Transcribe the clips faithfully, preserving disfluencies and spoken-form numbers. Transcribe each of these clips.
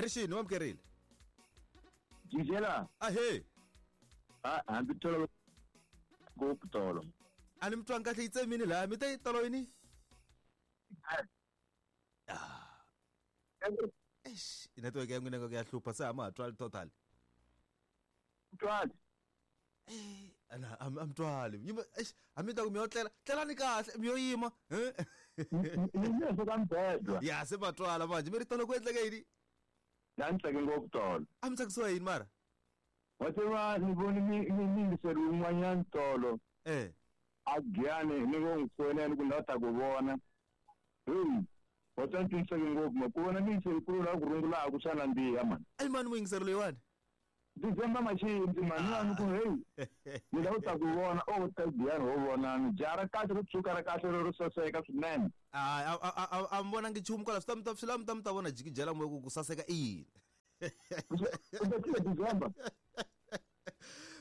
Rixini wa mukerile. Jijela. Ahe. Ah, hambi tolo ngopfu tolo. A ni mi twanga kahle yi tsemini laha mi te tolo yini? Ah. Eish, network ya n'wina ya hlupha se a ma ha twali total. Twali. Eh, ana am am twali. Yima eish, a mi ta ku mi yo tlela, tlelani kahle, mi yo yima. Eh. Ni leswo ka mbedwa. Ya se va twala manje, mi ri tolo ku endleka yini? Na ni tsake ngopfu tolo. A mi tsakisiwa yini mara? Wa tiva ni voni mi mi yingiseri wun'wanyana tolo. Eh. A Giyani ni ngo n'wi fonela ku ni lava ta ku vona. Hey, wa twa ni twisiseke ngopfu ma ku vona miyingiseri kulu la ku rungulaka swa nandziha mani. Ai mani muyingiseri loyiwani? December Machindzi mani ni ku hey ni lava ta ku vona o ta Giyani ho vonani jaha ra kahle ro tshuka ra kahle ro saseka swinene. A a a mi vonangi nchumu kwala swi ta mi ta swi lava mi ta mi ta vona jikijela moya ku ku saseka i yini. U ta tiva December.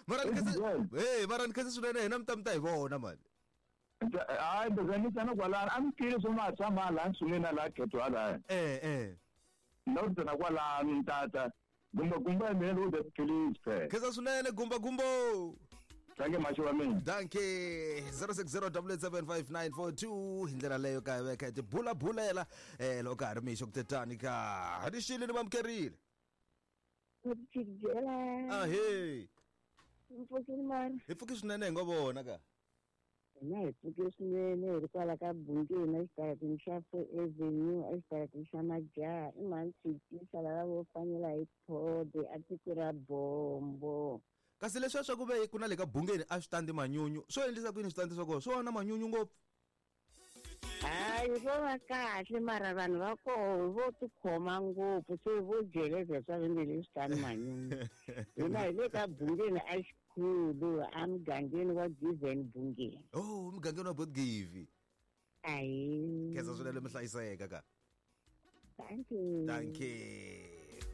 Mara ni khensa hey mara ni khensa swinene hina mi ta mi ta hi vona mani. Hayi ndoza ni tana kwalano a mi twile swo ma tshama laha nsungeni na laha khetho halaya. Eh eh. Ni lava ku tana kwalano tata. Gumba gumba ya mina loko ta tiphilisi phela. Khensa swinene gumba gumbo. Danke macho wa mina. Danke zero six zero double eight seven five nine four two hi ndlela leyo ka veka ti bula bulela eh loko ka ha ri mixo ku tetani ka rixile ni vamukerile. Jijela. Ahe. Mpfukile mani. Hi pfuki swinene hi ngo vona ka. Hina hi pfuke swinene hi ri kwala ka Bungeni exitarateni xa Four Avenue exitarateni xa Majaha i mhani Tshikisa lava vo fanela hi phode a tiko ra Bombo. Kasi leswiya swa ku ve ku na le ka Bungeni a swi tandi manyunyu swo endlisa ku yini switandi swa kona swo na manyunyu ngopfu. Hayi vo va kahle mara vanhu va koho vo tikhoma ngopfu se vo jeleza swa va nge le swi tani manyunyu. Hina hi le ka Bungeni a xikhulu a mugangeni wa Given Bungeni. Oh, mugangeni wa Botgivi. Ayi. Khensa swinene mi hlayiseka ka. Thank you. Thank you.